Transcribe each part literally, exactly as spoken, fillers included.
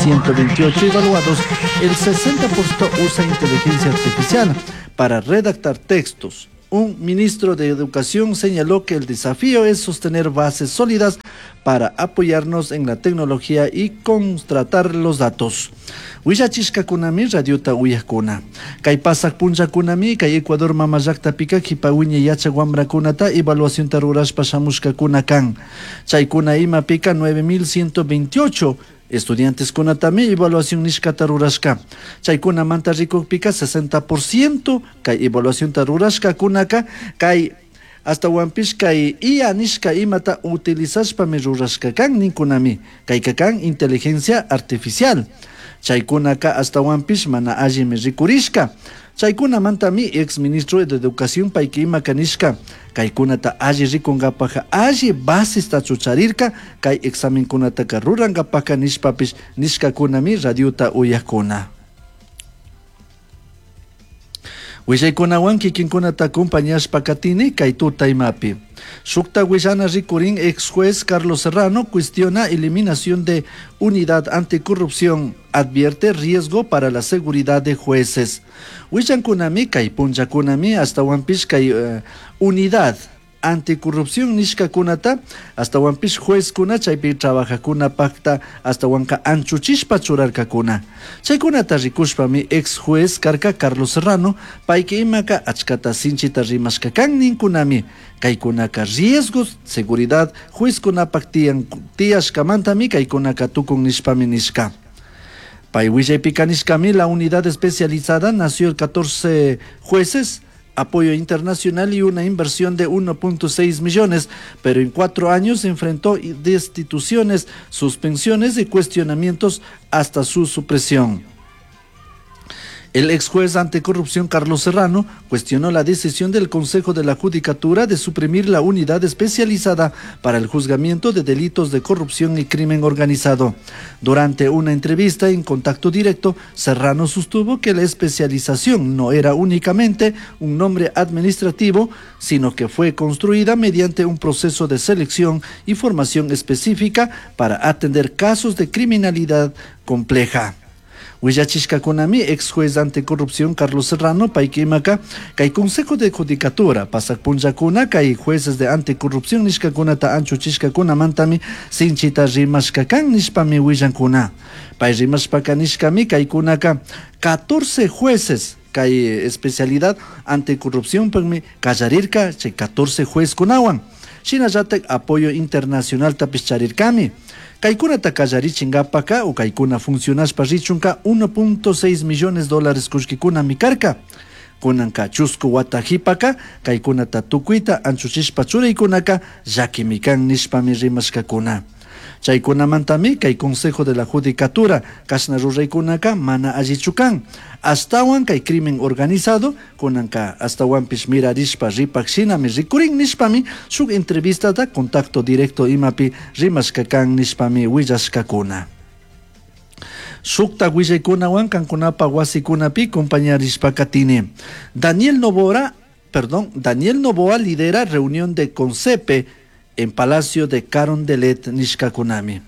ciento veintiocho evaluados, el sesenta por ciento usa inteligencia artificial para redactar textos. Un ministro de Educación señaló que el desafío es sostener bases sólidas para apoyarnos en la tecnología y contratar los datos. Willachishkakunami radiota uyakuna. Kay pasak punllakunami kay Ecuador mama llaktapika kipa wiñay yachak wamrakunata evaluacionta rurashpa shamushkakuna kan. Chaykuna imapika nueve mil ciento veintiocho estudiantes kunatami evaluación nishkata rurashka. Chaykunamanta rikukpika sesenta por ciento kay evaluacionta rurashkakunaka kay hasta kay I A nishka imata utilizashpami rurashka kan ninkunami. Kayka kan inteligencia artificial. Chaykunaka hasta mana allimi rikurishka. Chaykunamantami ex ministro de Educación payki ima kanishka. Kaykunata alli rikunkapaja alli basista chucharirka kay examenkunataka rurankapaja nishpapish nishkakunami radiota uyakuna. Willaykunawan kikinkunata acompañashpa katini kay tuta imapi. Shukta willana rikurin ex juez Carlos Serrano cuestiona eliminación de unidad anticorrupción, advierte riesgo para la seguridad de jueces. Willankunami kay punllakunami hasta kay, eh, unidad anticorrupción nishkakunata hasta juezkuna chaypi trabajakuna pacta hasta anchuchishpa churarkakuna. Chaykunata rikushpami ex juez karka Carlos Serrano payki imaka achkata sinchita rimashka kan ninkunami. Kaykunaka riesgos seguridad juezkunapak tiyan tiyashkamantami kaykunaka tukun nishpami nishka. Pay willaypika nishkami la unidad especializada nació el catorce jueces, apoyo internacional y una inversión de uno punto seis millones, pero en cuatro años enfrentó destituciones, suspensiones y cuestionamientos hasta su supresión. El ex juez anticorrupción Carlos Serrano cuestionó la decisión del Consejo de la Judicatura de suprimir la unidad especializada para el juzgamiento de delitos de corrupción y crimen organizado. Durante una entrevista en Contacto Directo, Serrano sostuvo que la especialización no era únicamente un nombre administrativo, sino que fue construida mediante un proceso de selección y formación específica para atender casos de criminalidad compleja. Willachishkakunami ex juez anticorrupción Carlos Serrano payki imaka kay Consejo de Judicatura pasak punllakuna kay jueces de anticorrupción nishkakunata anchuchishkakunamantami sinchita rimashkakan nishpami willankuna. Pay rimashpaka nishkami kaykunaka catorce jueces kay especialidad anticorrupción pagmi kallarirka chay catorce juezkunawan. Shinallatak apoyo internacional tapish charirkami. Kaykunata kallarichinkapaka o kaykuna funcionashpa richunka uno punto seis millones dólares kullkikuna mikarka. Kunanka chusku wata hipaka kaykunata tukuyta anchuchishpa churaykunaka llakimikan nishpami rimashkakuna. Chaykunamantami kay Consejo de la Judicatura kashna ruraykunaka mana allichu kan. Astawan kay crimen organizado kunanka astawanpish mirarishpa ripak shinami rikurin nishpami shuk entrevistata Contacto Directo imapi rimashka kan nishpami willashkakuna. Shukta willaykunawan kankunapa wasikunapi compañarishpa katini. Daniel Noboa, perdón, Daniel Noboa lidera reunión de Concepe en Palacio de Carondelet, Nishkakunami.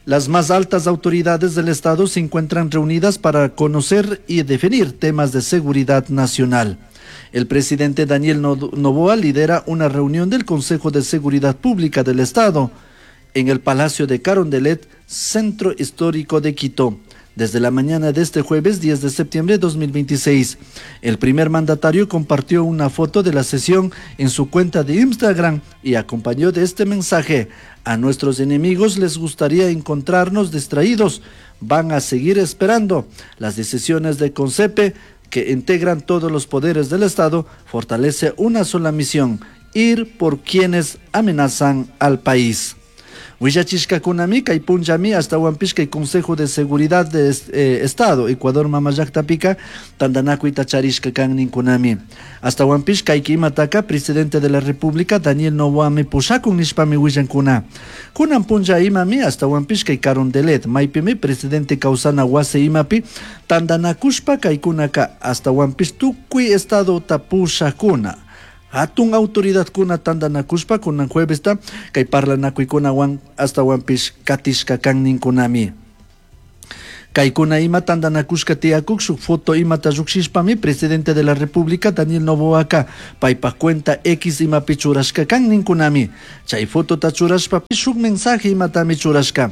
Las más altas autoridades del Estado se encuentran reunidas para conocer y definir temas de seguridad nacional. El presidente Daniel Noboa lidera una reunión del Consejo de Seguridad Pública del Estado en el Palacio de Carondelet, Centro Histórico de Quito, desde la mañana de este jueves diez de septiembre de dos mil veintiséis. El primer mandatario compartió una foto de la sesión en su cuenta de Instagram y acompañó de este mensaje: a nuestros enemigos les gustaría encontrarnos distraídos, van a seguir esperando. Las decisiones de Concepe, que integran todos los poderes del Estado, fortalece una sola misión: ir por quienes amenazan al país. Willachishkakunami kay punllami hasta kay Consejo de Seguridad de eh, Estado Ecuador mama llaktapika tantanakuyta charishka kan ninkunami. Hasta kay kimataka presidente de la República Daniel Noboa pushakun nishpami willankuna. Kunan punlla imami hasta kay Carondelet maypimi presidente kawsana wasi imapi tantanakushpa kaykunaka hasta tukuy estado tapushakuna. Hatun autoridad kuna tantanakushpa kunan juevesta kay parlanakuykunawan hasta katishka kan ninkunami. Kaykuna ima tantanakushka tiyakuk shuk foto imata llukshishpami presidente de la República Daniel Noboaka paypak cuenta X imapi churashka kan ninkunami. Chay fotota churashpa shuk mensaje imatami churashka.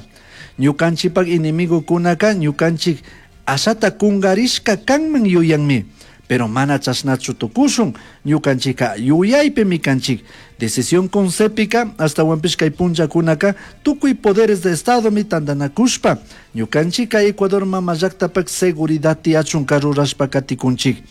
Ñukanchikpak enemigokunaka ñukanchik ashata kungarishka kanman yuyanmi. Pero mana chashnachu tukushun ñukanchika yuyaypimi kanchik. Decisión consepika ashtawanpish kay punllakunaka tukuy poderes de Estadomi tantanakushpa ñukanchika Ecuador mama llaktapak seguridad tiyachunka rurashpa katikunchik.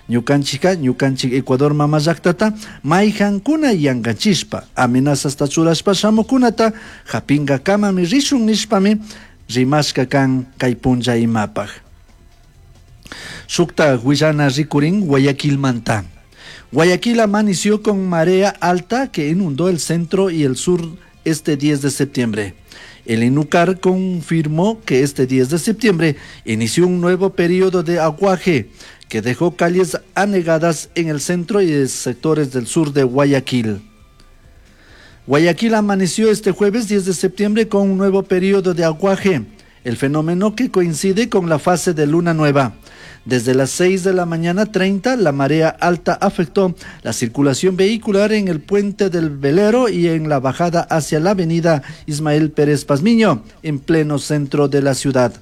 Ñukanchika ñukanchik Ecuador mama llaktata mayhankuna yankachishpa amenazasta churashpa shamukunata hapinkakamami rishun nishpami rimashka kan kay punlla imapaj. Shukta huillana rikurin Guayaquilmanta. Guayaquil amaneció con marea alta que inundó el centro y el sur este diez de septiembre. El INUCAR confirmó que este diez de septiembre inició un nuevo periodo de aguaje que dejó calles anegadas en el centro y sectores del sur de Guayaquil. Guayaquil amaneció este jueves diez de septiembre con un nuevo periodo de aguaje, el fenómeno que coincide con la fase de luna nueva. Desde las seis de la mañana treinta, la marea alta afectó la circulación vehicular en el puente del Velero y en la bajada hacia la avenida Ismael Pérez Pazmiño, en pleno centro de la ciudad.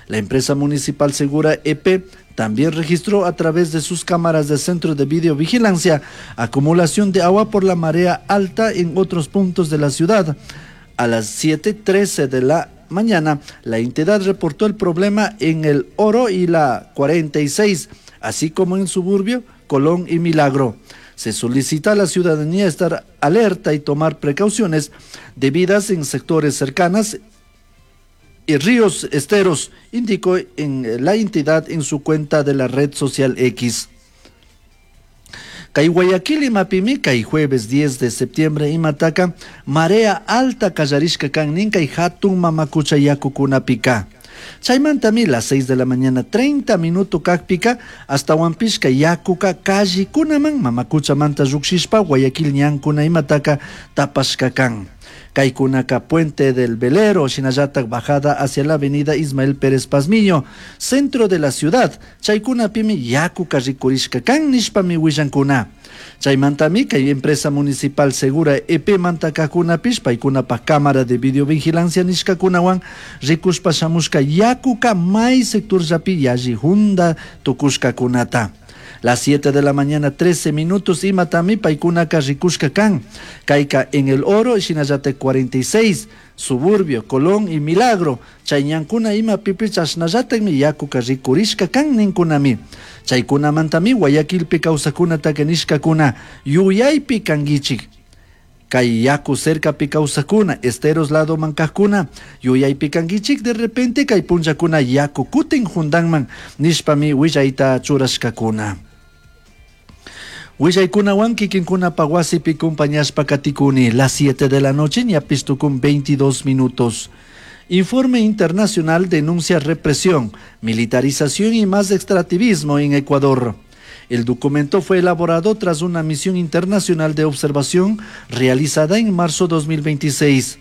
La empresa municipal Segura E P también registró a través de sus cámaras de centro de videovigilancia acumulación de agua por la marea alta en otros puntos de la ciudad. A las siete trece de la mañana, la entidad reportó el problema en el Oro y la cuarenta y seis, así como en Suburbio, Colón y Milagro. Se solicita a la ciudadanía estar alerta y tomar precauciones debidas en sectores cercanos y ríos esteros, indicó en la entidad en su cuenta de la red social X. Kay Guayaquil imapimi kay jueves diez de septiembre imataka marea alta kallarishka kan nin kay hatun mamakucha yakukunapika. Chaymantami las seis de la mañana treinta minuto kakpika hasta wampishka yakuka kallikunaman mamakucha manta llukshishpa Guayaquil ñankuna imataka tapashka kan. Kaykunaka Puente del Velero, shinallatak bajada hacia la avenida Ismael Pérez Pazmiño, centro de la ciudad. Chaykunapimi yakuka rikurishka kan nishpami willankuna. Chaymantami kay empresa municipal Segura E P mantakakunapish paykunapa cámara de videovigilancia nishkakunawan rikushpa shamushka yakuka may sector llapi yalli hunda tukushkakunata. Las siete de la mañana, trece minutos, imatami paykunaka rikushka kan. Kayka en el Oro, shinallate cuarenta y seis, Suburbio, Colón y Milagro. Chayñankuna ima pipi chashnallatemi yakuka rikurishka kan ninkunami. Chaykunamantami Guayaquilpi kawsakunataka nishkakuna yuyaypi kankichik. Kay yaku cercapi kawsakuna, esteros lado mankakuna, yuyaypi kankichik, de repente kay punllakuna yaku kutin jundanman nishpami willayta churashkakuna. Willaykunawan kikinkunapa wasipi compañashpa katikuni, las siete de la noche ñapis tukun veintidós minutos. Informe internacional denuncia represión, militarización y más extractivismo en Ecuador. El documento fue elaborado tras una misión internacional de observación realizada en marzo dos mil veintiséis.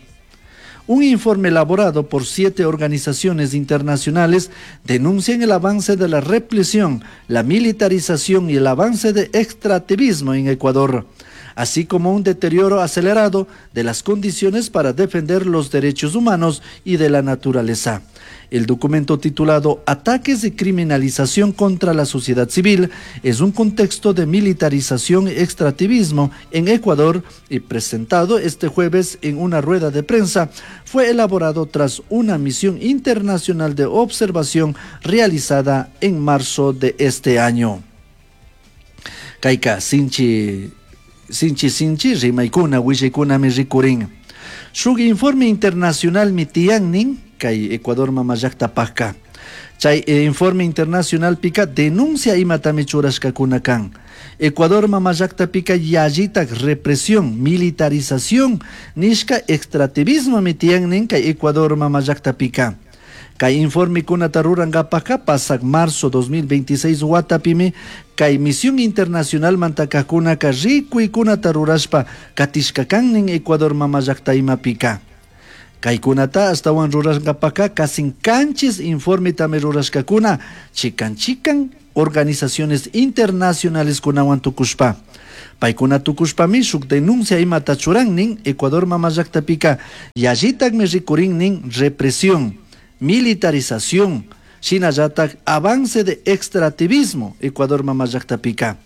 Un informe elaborado por siete organizaciones internacionales denuncia el avance de la represión, la militarización y el avance de extractivismo en Ecuador, así como un deterioro acelerado de las condiciones para defender los derechos humanos y de la naturaleza. El documento titulado Ataques y criminalización contra la sociedad civil es un contexto de militarización y extractivismo en Ecuador y presentado este jueves en una rueda de prensa, fue elaborado tras una misión internacional de observación realizada en marzo de este año. Kaika sinchi, sinchi, sinchi, rimaykuna, willaykunami rikurin. Shuk informe internacional mitiannin kay Ecuador mama llaktapajka. Chay, eh, informe internacional pika denuncia imatami churashkakuna kan. Ecuador mama llaktapika yallitak represión, militarización, nishka extractivismo mitiannin kay Ecuador mama llaktapika. Kay informe kunata rurankapajka pasak marzo dos mil veintiséis watapimi kay misión internacional mantakajkunaka rikuykunata rurashpa katishka kannin Ecuador mama llakta imapika. Kaykunata ashtawan rurashkapaka casi kanchis informetami rurashkakuna chikan chikan organizaciones internacionales kunawan tukushpa. Paykuna tukushpami shuk denuncia imata churan nin Ecuador mama llaktapika yallitakmi rikurin nin represión, militarización, shinallatak avance de extractivismo Ecuador mama llaktapika.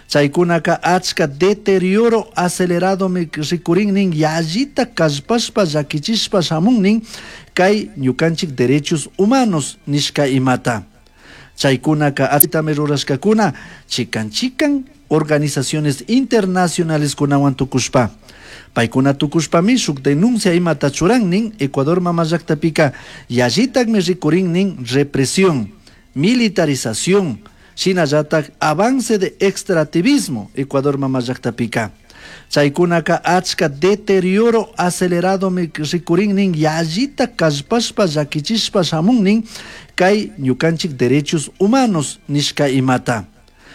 Chaykunaka achka deterioro acelerado rikurin nin yallita kallpashpa llakichishpa shamun nin kay ñukanchik derechos humanos nishka imata. Chaykunaka achitami rurashkakuna chikan chikan organizaciones internacionales kunawan tukushpa. Paykuna tukushpami shuk denuncia imata churan nin Ecuador mama llaktapika yallitakmi rikurin nin represión, militarización, shinallatak avance de extractivismo Ecuador mama llaktapika. Chaykunaka achka deterioro acelerado rikurin nin yallita kallpashpa llakichishpa shamun nin kay ñukanchik derechos humanos nishka imata.